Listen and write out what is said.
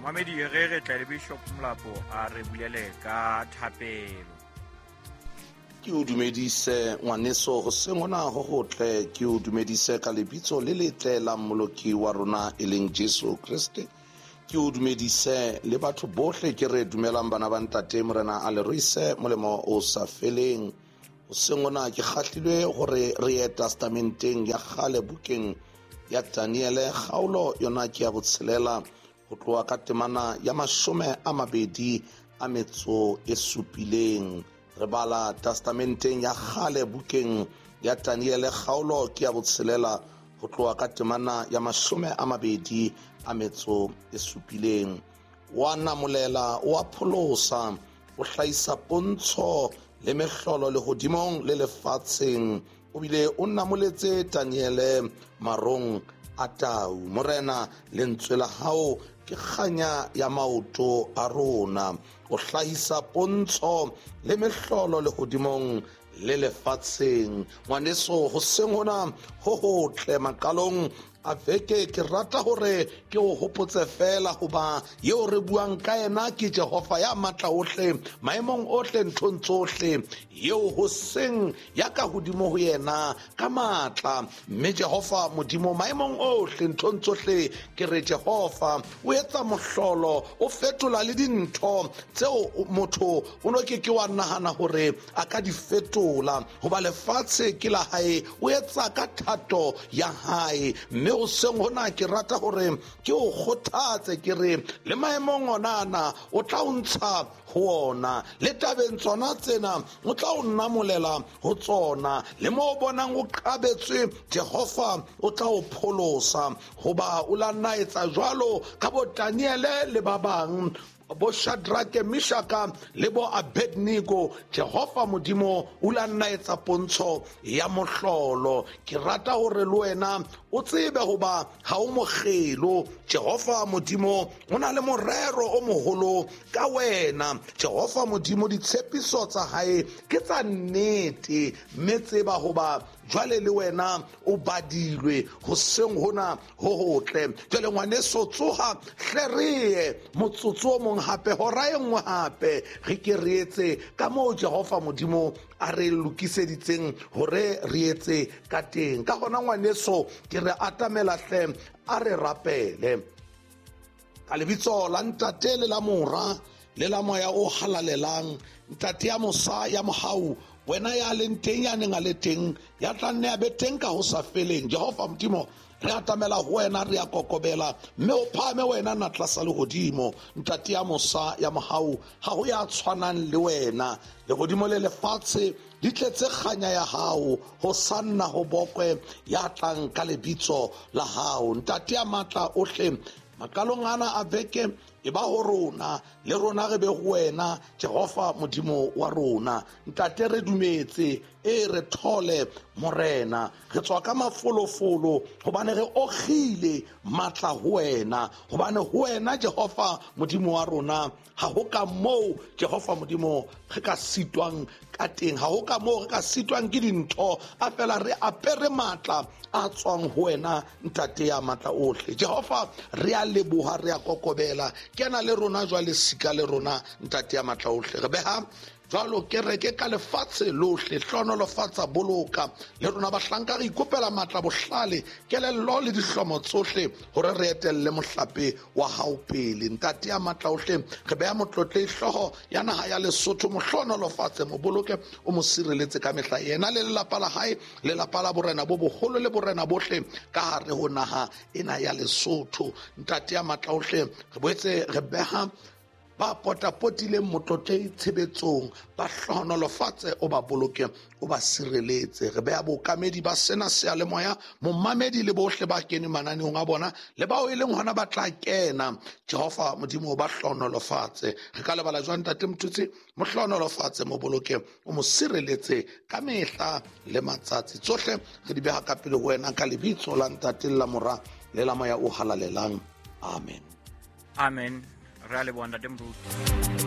Momamedi, re tle le Bishop Molapo a re bulele ka thapelo. Ke o dumedise ngwaneso hoseng hona ho hotle, ke o dumedise ka lebitso le letle la Mmoloki wa rona e leng Jesu Kreste. Ke o dumedise le batho bohle ke re dumelang bana ba ntate Morena a le ruise molemo o sa feleng. Hoseng hona ke kgahlilwe hore re ye testamenteng ya kgale bukeng ya Daniele, kgaolo yona ke ya botshelela ho tloha ka temana ya 27. Re bala testamenteng ya kgale bukeng ya Daniele, kgaolo ke ya botshelela ho tloha ka temana ya 27. Wa namolela, wa pholosa, o hlahisa pontsho le mehlolo lehodimong le lefatsheng, o bile o namoletse Daniele marong a tau. Morena, lentswe la hao ke kganya ya maoto a rona. O hlahisa pontsho le mehlolo lehodimong le lefatsheng. Ngwaneso, hoseng hona ho hotle maqalong a veke, ke rata hore ke o hopotse fela hoba eo re buang ka yena ke Jehova ya matla ohle, maemong ohle, nthong tsohle, eo hoseng ya ka hodimo ho yena ka matla. Mme Jehova Modimo maemong ohle, nthong tsohle, ke re Jehova o etsa mohlolo, o fetola le dintho tseo motho o no ke ke wa nahana hore a ka di fetola, hoba lefatshe ke la hae, o etsa ka thato ya hae. Mme hoseng hona ke rata hore ke o kgothatse, ke re le maemong onana o tla o ntsha ho ona, le tabeng tsona tsena o tla o namolela ho tsona, le mo o bonang o qabetswe, Jehova o tla o pholosa, hoba o la nna etsa jwalo ka bo Daniele le ba bang, bo Shadrake, Meshaka le bo Abednego. Jehova Modimo o la nna etsa pontsho ya mohlolo. Ke rata hore le wena o tsebe hoba ha o mokgelo. Jehova Modimo o na le morero o moholo ka wena. Jehova Modimo, ditshepiso tsa hae ke tsa nnete, mme tseba hoba jwale le wena o badilwe hoseng hona ho hotle. Jwale ngwaneso, tsoha hle, re ye motsotso o mong hape, hora e nngwe hape, re ke re etse ka moo Jehova Modimo a re lokiseditseng hore re etse ka teng. Ka hona ngwaneso, ke re atamela hle, a re rapele ka lebitso la Ntate le la Mora le la Moya o Halalelang. Ntate ya mosa ya mohau, wena ya leng teng, ya neng a le teng, ya tla nne a be teng ka ho sa feleng, Jehova Modimo, re atamela ho wena, re a kokobela, mme o phahame wena natla sa lehodimo. Ntate ya mosa ya mohau, ha ho ya tshwanang le wena. Lehodimo le lefatshe di tletse kganya ya hao, ho sanna ho bokwe ya tlang ka lebitso la hao. Ntate ya matla ohle, maqalong ana a veke e ba ho rona, le rona re be ho wena, Jehova Modimo wa rona. Ntate, re dumetse, e re thole Morena, re tswa ka mafolofolo, hobane re okgile matla ho wena, hobane ho wena Jehova Modimo wa rona ha ho ka moo Jehova Modimo re ka sitwang ka teng, ha ho ka moo re ka sitwang ke dintho, a fela re apere matla a tswang ho wena, Ntate ya matla ohle. Jehova, re a leboha, re a kokobela, kena le rona jwale, sika le rona, Ntate ya matla ohle. Re beha jwalo kereke ka lefatshe lohle, hlohonolofatsa, boloka le rona bahlanka, re ikopela matla, bohlale, kelello le dihlomo tsohle hore re etelle mohlape wa hao pele. Ntate ya matla ohle, re beha motlotlehi hlooho ya naha ya Lesotho, mo hlohonolofatse, mo boloke, o mo sireletse ka mehla, yena le lelapa la hae, lelapa la borena bo boholo le borena bohle ka hare ho naha ena ya Lesotho. Ntate ya matla ohle, re boetse re beha ba potapotileng motlotlehi tshebetsong, ba hlohonolofatse, o ba boloke, o ba sireletse. Re beha bookamedi ba sena seyalemoya, momamedi le bohle ba keneng mananeong a bona le bao e leng hona ba tla kena, Jehova Modimo ba hlohonolofatse. Re ka lebala jwang Ntate Motutsi? Mo hlohonolofatse, mo boloke, o mo sireletse ka mehla le matsatsi. Tsohle re di beha ka pele ho wena ka lebitso la Ntate le la Mora le la Moya o Halalelang. Amen. Amen. Re a leboha, Ntate Moruti.